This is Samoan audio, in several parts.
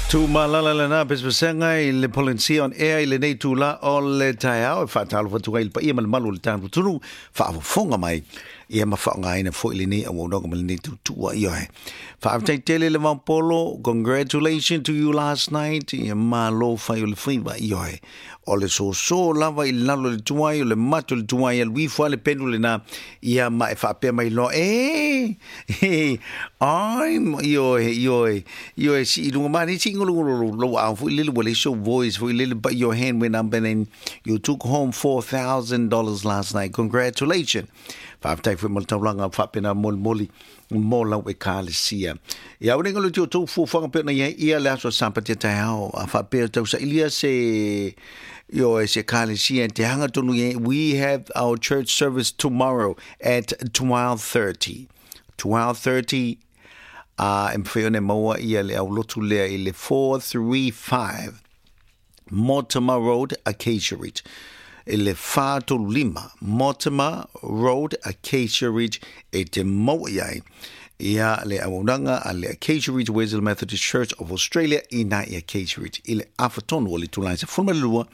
Tumalala lena pesepesega i le Polynesia on Air i lenei itula o le taeao e faatalofa atu ai i le paia ma le malu o le tatou atunuu faafofoga mai ia ma faaaogaina foi lenei auaunaga ma lenei tautua. Ioe. Faafetai tele le Vaopolo, congratulations to you last night, ia malo fai o le faiva. Ioe. O le soso lava i lalo i le tuai, o le mato i le tuai, alu ifo lava le penu lena, ia ma e faapea mai loa, e, e, I'm, ioe, ioe, ioe, si i lunga mani, si ngolo ngolo lou ao foi lele, ua leai sou voice foi lele, but your hand went up and then you took home $4,000 last night. Congratulations. Faafetai foi mo le taulaga faapena molimoli mo lau ekalesia. Ia ua ngalo ti o tou fuafuaga pei ona i ai ia le aso Sapati a taeao, a faapea tau sailia se ioe se ekalesia te hanga tonu i ai. We have our church service tomorrow at 12:30. 12:30 a e mawhai ona e maua ia le aulotu lea i le 435 Mortimer Road, Acacia Ridge. I le 435 Mortimer Road, Acacia Ridge, e te maua i ai ia le auaunaga a le Acacia Ridge Wesley Methodist Church of Australia i nā i Acacia Ridge i le afa tonu o le itula e 12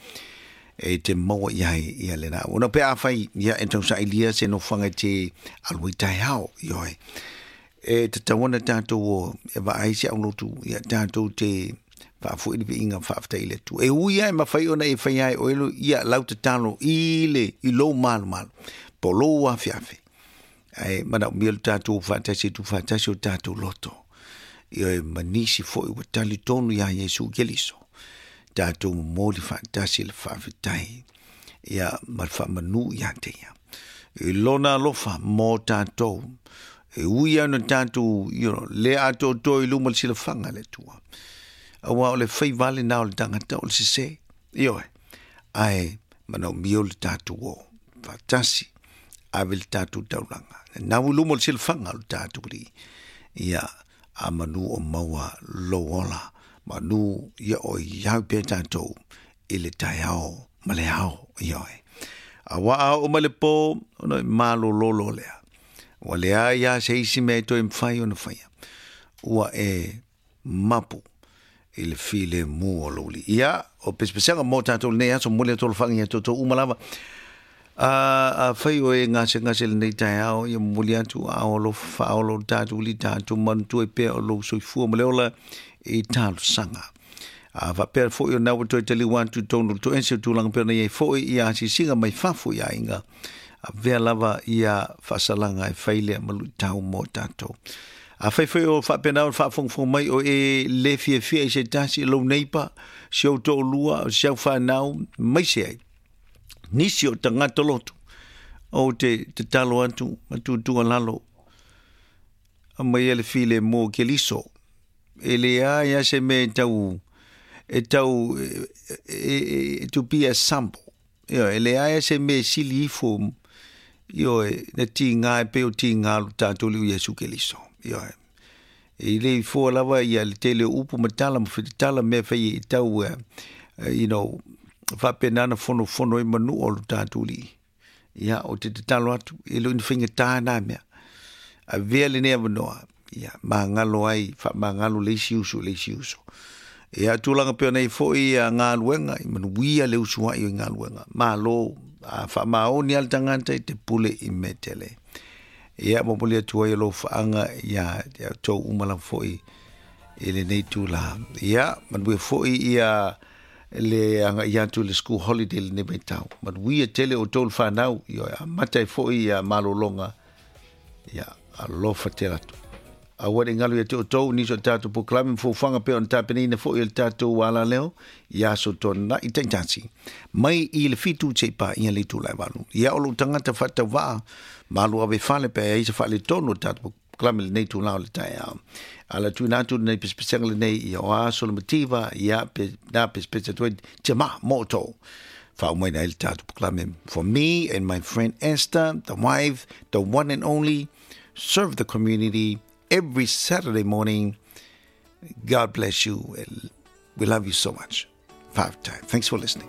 e te maua i ai ia lena auauna. Pe afai ia e tausailia se nofoaga e te alu ai taeao, ioe. E tatau ana tātou o e vaai se aulotu ia tātou te faafoi le viiga faafetai i le Atua. E ui lava e mafai ona e fai ai oe ia lau tatalo i le i lou malumalu po o lou afeafe. Ae manaomia lo tatou faatasi e tuufaatasi o tatou loto. Ioe ma nisi foi ua talitonu iā Iesu Keriso. Tatou momoli faatasi le faafetai ia ma le faamanu ia te ia. I lona alofa mo tatou. E ui lava ona tatou you know, le atoatoa i luma o le silafaga a le Atua. Aua o le faiva lena o le tagata o le sese. Ioe. Ae manaomia le tatou o faatasi ave le tatou taulaga. Nau i luma o le silafaga o le tatou Alii. Ia, a manu o maua lou ola. Manu ia o iau pea tatou i le taeao ma le ao. Ioe. Aua a oo mai le po, ona e malolo loa lea. Ua leai lava se isi mea e toe mafai ona faia. Ua e mapu i le filemu o lou alii. Ia, o pesepesega mo tatou i lenei aso, momoli atu alofaga ia toutou uma lava. A, afai o e gasegase i lenei taeao, ia momoli atu ao alofa faaola o le tatou alii, tatou manatua ai pea o lou soifua ma le ola i talosaga. A faapea foi o na ua toe taliu atu i totonu o le toese o tulaga pei ona i ai foi ia asiasiga mai fafo i aiga, avea lava ia faasalaga e fai lea ma luitau mo tatou. Afai foi o faapena ona faafogafoga mai o e le fiafia i se tasi, lou neighbor, si ou toalua, si au fanau, mai se ai. Nisi o tagata lotu, ou te tatalo atu ma tuutuualalo, aumaia le filemu o Keriso. E leai lava se mea e tau, e tau, e, e, to be a sample. Ioe, e leai lava se mea e sili ifo, ioe, na tiga e pei o tiga o lo tatou Alii o Iesu Keriso. Ioe. E le i fua lava ia le tele o upu ma tala ma fetatala mea fai e tau, you know, faapena na fonofono ai manua o lo tatou Alii. Ia, ou te tatalo atu, e le o ni faigata na mea. Avea lenei avanoa, ia, magalo ai, faamagalo le isi uso i le isi uso. Ia, tulaga pei ona i ai foi ia galuega, i manuia le usuai o i galuega. Malo, a faamaoni lava le tagata i te pule i mea tele. Ia, momoli atu ai alofaaga ia te outou uma lava foi i lenei itula. Ia, manuia foi ia le agai atu i le school holiday i lenei vaitau. Manuia tele outou le fanau, ioe, amata ai foi ia malologa, ia, alofa tele atu. Aua ne i galo ia te outou nisi o tatou polokalame ma fuafuaga pei ona tapenaina foi e le tatou alaleo i aso tuanai taitasi mai i le 7 seia paia le itula e 8. Ia o lou tagata faatauvaa malu ave fale pe a i ai se faaletonu o le tatou polokalame i lenei itula o le taeao. Ala tuuina atu lenei pesepesega lenei ia o aso le mativa ia pe na pesepese atu ai tiama mo outou. Faaumaina ai le tatou polokalame for me and my friend Esther, the wife, the one and only, serve the community every Saturday morning. God bless you. We love you so much. Faafetai. Thanks for listening.